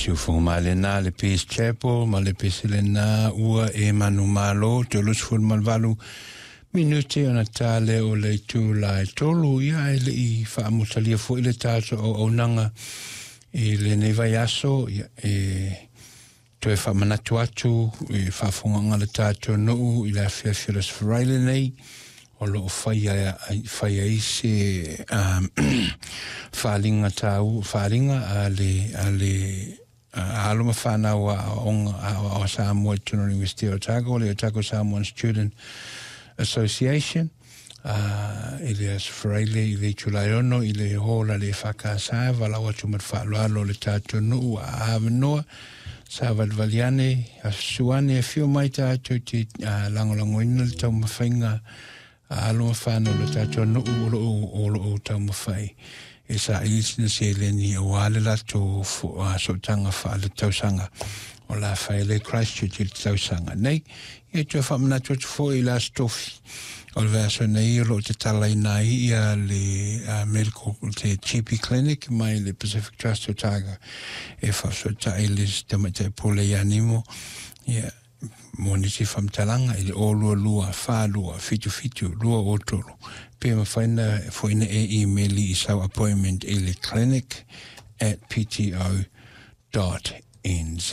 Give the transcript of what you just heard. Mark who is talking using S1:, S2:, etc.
S1: Siufogo mai lena le Peace Chapel ma le pese lena ua e manumalo 38 minute ona ta lea o le itula e 3. Ia, e le i faamutalia foi le tatou auaunaga i lenei vaiaso, ia, e toe faamanatu atu i faafogaga le tatou nuu i le afiafi o le Aso Faraile lenei o loo faia faia ai se faaliga tau faaliga a le alo ma fanau aoaoga aoao Samoa i totonu o le University o Otago, le Otago Samoan Student Association, i le Aso Faraile i le itula e 6 i le hola le EFKS. Valaau atu ma le faaaloalo le tatou nuu a avanoa sa valivali ane, asusu ane, afio mai tatou te lagolagoina le taumafaiga a alo ma fanau le tatou nuu o loo taumafai e saili sina seleni aua le latou sootaga faaletausaga o la fai le Christchurch i le tausaga nei. Ia, toe faamanatu atu foi i le Aso Tofi o le vaiaso nei o loo tatalaina ai ia le medical te GP clinic mai le Pacific Trust Otago e faafesootai le tamaitai pule ia Nimo. Ia, mo nisi faamatalaga i le 022 42 77 203, pe mafai na foi na e email i sau appointment i le clinic@pto.nz.